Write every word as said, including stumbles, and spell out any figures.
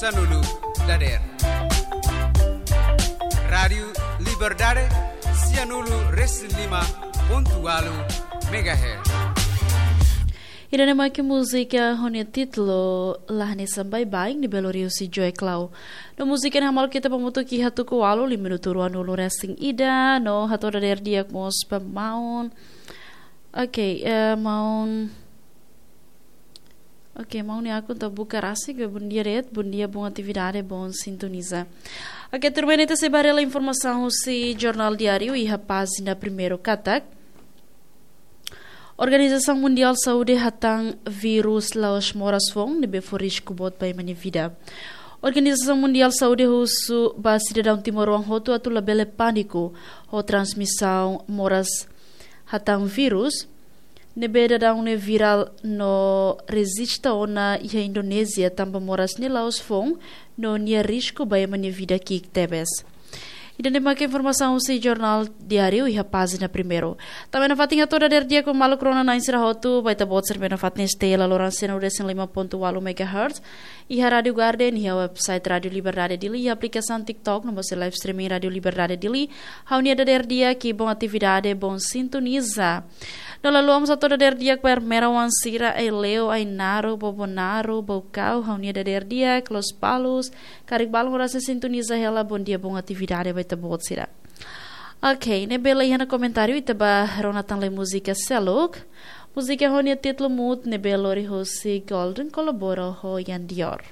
Sanulu dader. Rádiu Liberdade, sianulu resin lima pontu walu megahertz. Ida-ne'e mak múzika ho nia títulu Lahne Sambai Baing ne'ebé lori husi Joe Clau. No múzika ne'e hamaluk ita ba mutu ki hatuku walu, lima minutu ruanulu resin ida, no hato'o dader di'ak mós ba maun. Oke, eh, maun. Oke, maun nia akun ita buka rasik, bom dia de'it, bom dia, bom atividade, bom sintoniza. Oke, tuirmai ne'e ita sei bá hela informasaun husi Jornál Diáriu iha pájina primeiru katak. Organizasaun Mundiál Saúde hatán vírus la'ós moras foun ne'ebé fó risku boot ba ema nia vida. Organizasaun Mundiál Saúde husu ba sidadaun timoroan hotu atu labele pániku ho transmisaun moras hatán vírus ne'ebé daudaun ne'e virál no rejista ona iha Indonézia tanba moras ne'e la'ós foun no nia risku ba ema nia vida ki'ik tebes. Ida-ne'e mak informasaun husi Jornál Diáriu iha pájina primeiru. Tanba ne'e nafatin hato'o dader di'ak ba maluk rona-na'in sira hotu ba ita-boot sira ne'ebé nafatin estaun iha laloran sianulu resin lima pontu walu megahertz. Iha Rádiu Garden, iha website Rádiu Liberdade Dili, iha aplikasaun TikTok, no mós live streaming Rádiu Liberdade Dili. Ha'u-nia dader di'ak, bom atividade, bom sintoniza. No la haluha mós hato'o dader di'ak ba Ermera Wansira, Aileu, Ainaro, Bobonaro, Baucau, ha'u-nia dader di'ak, Lospalos, karik balun horas ne'e sintoniza hela, bom dia, bom atividade ba ita-boot sira. Oke, ne'ebé la iha ona komentáriu, ita bá rona tan lai múzika seluk. Múzika ho nia títulu Mood ne'ebé lori husi Golden kolabora ho Yan Dior.